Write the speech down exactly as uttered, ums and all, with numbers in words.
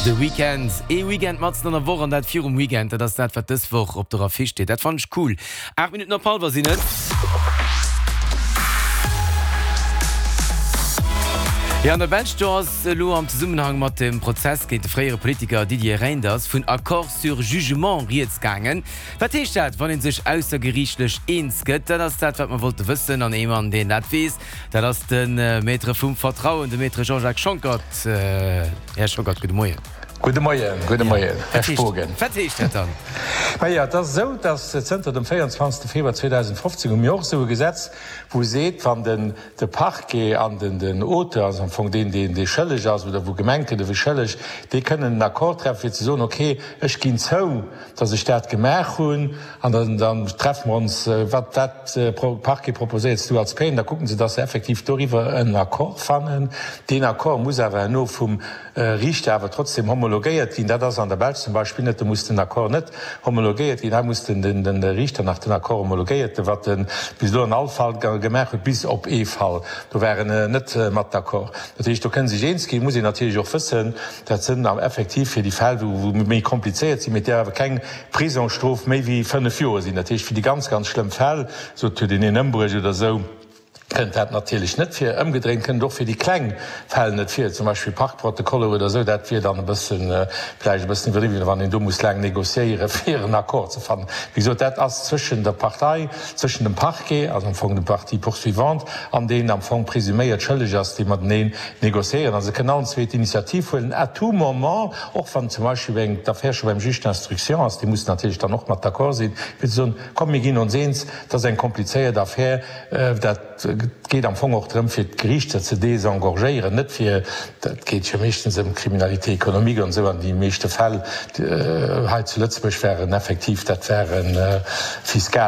De Weekend, ee Weekend matzen an der Woch an dat virum Weekend, dat ass dat wat dës Woch op der Affiche steet. Dat fannen ech cool. Aacht Minutten op hallwer sinn et. Jo, an der Belsch, do ass elo am Zesummenhang mat dem Prozess géint de fréiere Politiker Didier Reynders vun Accord sur jugement rieds gaangen. Wat heescht dat, wann ee sech aussergeriichtlech eens gëtt? Dat ass dat, wat mer wollte wëssen. An ee Mann, deen dat weess, dat ass de Maître vum Vertrauen, de Maître Jean-Jacques Schonckert. Här Schonckert, gudde Moien. Gudde Moien, gudde Moien, Här Spogen. Wat heescht dat dann? Majo, et ass esou, datt zënter dem véierundzwanzegste Februar zweedausendfofzéng hu mir och esou e Gesetz, wou seet, wann den de Parquet an den den Auteur, also am Fong deen, deen dee schëlleg ass oder wou gemengt gëtt, e wier schëlleg, déi kënnen en Accord treffen, fir ze soen, okay, ech ginn zou, datt ech dat gemaach hunn, an dann dann treffe mer ons, wat wat Parquet proposéierts du als Peine, da kucken se, datt se effektiv doriwwer en Accord fannen. Deen Accord muss awer herno vum Riichter awer trotzdem homologéiert ginn. Dat ass an der Belsch zum Beispill net, do muss den Accord net homologéiert ginn, hei muss den den Riichter nach den Accord homologéiert, wat e bis elo an all Fall gemaach huet, bis op ee Fall, do war en net mat d'accord. Dat heescht, do kënne sech eens ginn, muss een natierlech och wëssen, dat sënn effektiv fir déi Fäll, wou méi komplizéiert sinn, mee et däerf awer keng Prisongsstrof méi wéi fënnef Joer sinn. Dat heescht, fir déi ganz, ganz schlëmm Fäll, sot huet een een ëmbruecht oder esou, kënnt dat natierlech net vir. Ëmgedréint kënnt et och fir déi kleng Fäll net vir, zum Beispill Parkprotokoller oder esou. Dat wier dann e bëssen, vläicht e bëssen iwwerdriwwen, wann een do muss laang négociéieren, fir en Accord ze fannen. Wéi gesot, dat ass zwëschen der Partei, zwëschen dem Parquet, also am Fong dem Partie poursuivante, an deen am Fong presuméiert schëlleg ass, déi mateneen négociéieren. A se kënnen allen zwee d'Initiativ huelen à tout moment, och wann zum Beispill eng d'Affär scho beim Juge d'instruction ass, dee muss natierlech dann och mat d'accord sinn, fir ze soen, komm mir ginn ons eens, dat ass eng komplizéiert Affär, dat geet am Fong och drëm fir d'Geriichter ze désengorgéieren, net fir, dat geet jo meeschtens ëm Criminalité économique an esou, an déi meeschte Fäll hei zu Lëtzebuerg waren effektiv, dat ware fiskal.